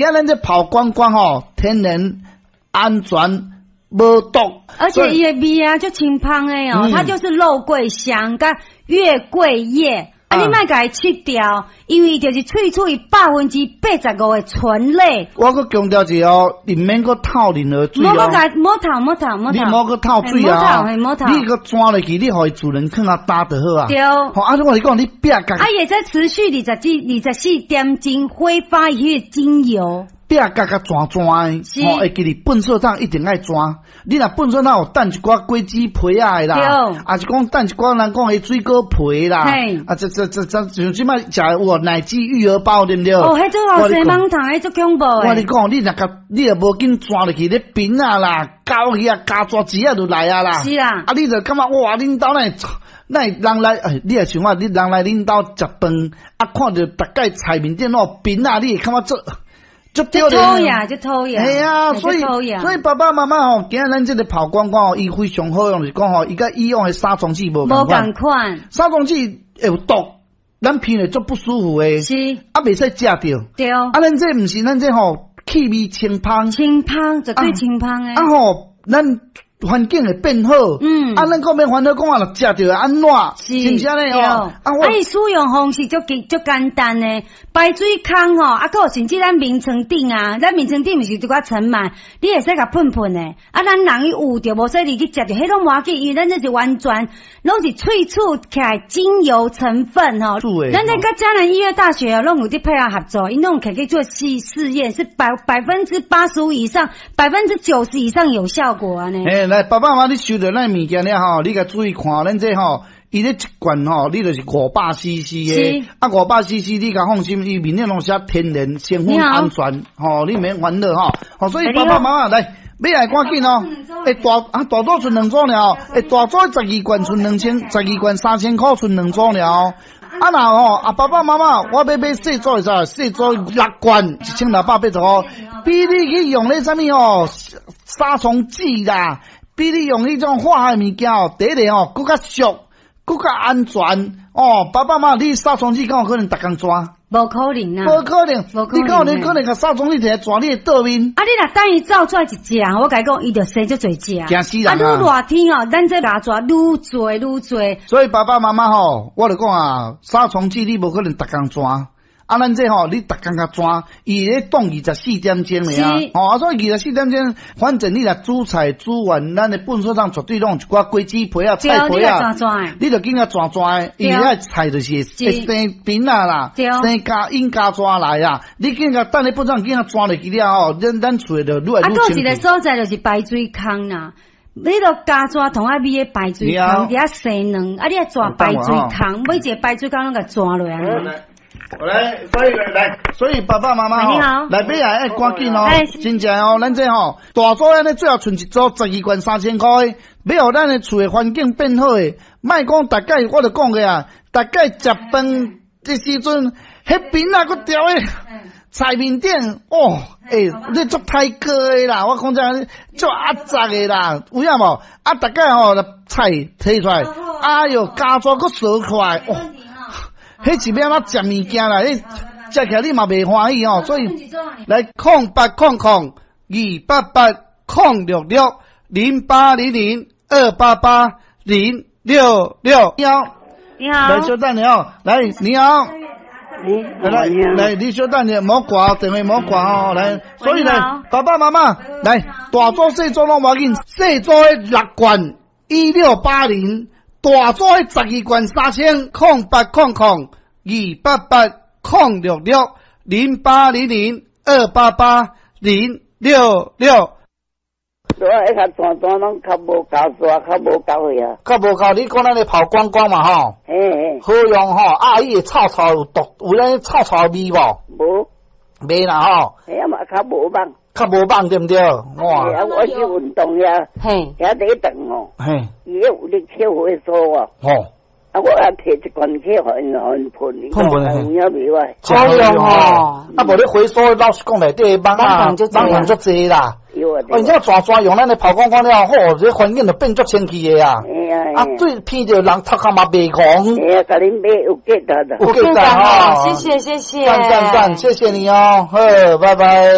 今咱這拋光光吼，天然安全無毒，而且伊的味啊，足清芳的哦，它就是肉桂香佮月桂葉。啊，你莫共伊切掉，因為就是萃取85%的醇類。我閣強調一下哦，你毋免閣透任何水哦。莫閣莫透莫透莫透。你莫閣透水啊！莫透。你閣鑽落去，你予伊自然囥較焦就好啊。對。吼，啊，我是講你壁角。啊，伊會使持續24點鐘揮發彼个精油。壁角較鑽鑽的，吼，會記得糞掃桶一定愛鑽。你若糞掃桶有等一寡果子皮仔的啦，抑是講等一寡人講的水果皮啦，啊，這這這這像這擺食有奶雞育兒包對毋對？哦，彼種後生網糖，彼足恐怖的。我跟你講，你若共你若無緊鑽落去，咧冰仔啦、狗魚啊、加蛇子仔就來啊啦。是啊。啊，你就感覺哇，恁兜哪會哪會人來？哎，你若像我，你人來恁兜食飯，啊，看著逐擺菜面頂攏有冰仔，你會感覺足。足丟臉，足討厭。係啊，所以爸爸媽媽吼，今仔咱這个拋光光吼，伊非常好用，就是講吼，伊佮以往的殺蟲劑無仝款。無仝款。殺蟲劑會有毒，咱聞會足不舒服的。是。啊，袂使食著。對。啊，咱這毋是，咱這吼氣味清芳。清芳，絕對清芳的。啊吼，咱環境會變好。啊，咱講免煩惱，講啊，若食著按怎？是毋是按呢吼？啊，伊使用方式足簡足簡單的，排水孔吼，啊，閣有甚至咱眠床頂啊，咱眠床頂毋是有一寡塵蟎，你會使共噴噴的。啊，咱人去聞著，無說你去食著，彼攏無要緊，因為咱這是完全攏是萃取起來精油成分吼。咱這佮嘉南醫藥大學攏有佇配合合作，𪜶攏有去做試試驗，是85%以上，90%以上有效果按呢。欸，來，爸爸媽媽，你收著咱物件了吼，你共注意看，咱這吼，伊咧一罐吼，你就是500 CC 的，啊，500 CC，你共放心，伊面頂攏寫天然成分安全，吼，你免煩惱吼。吼，所以爸爸媽媽來，買來趕緊哦。欸，大啊大組賰兩組爾哦，欸，大組12罐賰2000，12罐3000箍賰兩組爾哦。啊若吼，啊爸爸媽媽，我欲買細組的啥？細組六罐1680箍，比你去用咧啥物吼殺蟲劑啦，比你用彼種化學物件哦，第一个吼，閣較俗，閣較安全哦。爸爸媽媽，你殺蟲劑敢有可能逐工鑽？無可能啊！無可能，你敢有你可能共殺蟲劑摕來鑽你的桌面？啊，你若等伊走出來一隻，我共你講，伊就生足濟隻。驚死人啊！啊，愈熱天哦，咱這咬蛇愈濟愈濟。所以爸爸媽媽吼，我就講啊，殺蟲劑你無可能逐工鑽。啊，咱這吼，你逐工共鑽，伊咧凍24點鐘爾啊。吼，啊，所以24點鐘，反正你若煮菜煮完，咱的糞掃桶絕對攏有一寡果子皮啊、菜皮啊，你就緊共鑽鑽的，因為遐菜就是會生菌仔啦，生加引加蛇來啊。你緊共等咧糞掃桶緊共鑽落去了後，咱厝的就愈來愈清。啊，閣有一个所在就是排水孔啦。你著咬蛇桶愛覕咧排水孔，佇遐生卵，啊，你愛鑽排水孔，每一个排水孔攏共鑽落來。來，所以來，所以爸爸媽媽吼，來買啊，愛趕緊哦，真正哦，咱這吼大組按呢最後賰一組12罐3000箍的，欲予咱的厝的環境變好的，莫講逐擺我就講過啊，逐擺食飯這時陣，彼邊仔閣掉咧菜面頂，哦，欸，你足歹過的啦，我講真，足壓雜的啦，有影無？啊，逐擺吼菜提出來，哎喲，咬蛇閣趖出來，哦。彼是欲按怎食物件啦？彼食起來你嘛袂歡喜哦。所以來0800 288 066 0800 288 066。你好，你好，來稍等下哦，來你好，來來你稍等下，莫掛電話莫掛哦，來，所以呢，爸爸媽媽來大組細組攏無要緊，細組的六罐1680。大組的12罐3000，0800 288 066 0800 288 066。所以較鑽鑽攏較無咬蛇，較無咬去啊。較無咬，你講咱的拋光光嘛吼？嘿嘿。好用吼，啊，伊會臭臭有毒，有咱臭臭味無？無。袂啦吼。嘿啊嘛，較無猛。較無猛對毋對？哇！啊，我去運動遐，嘿，遐佇咧轉哦，嘿，伊有咧抽血所哦。吼。啊，我也提一罐去予𪜶噴，噴噴。有影袂歹。好用哦。啊，無你回收，老實講內底蠓仔，蠓蟲足濟啦。有啊。哦，你這蛇蛇用咱的拋光光了後，這環境就變足清氣的啊。啊，對，鼻著人頭殼嘛袂戇。嘿啊，共恁買有價值。有價值哦。謝謝謝謝。讚讚讚，謝謝你哦，好，拜拜。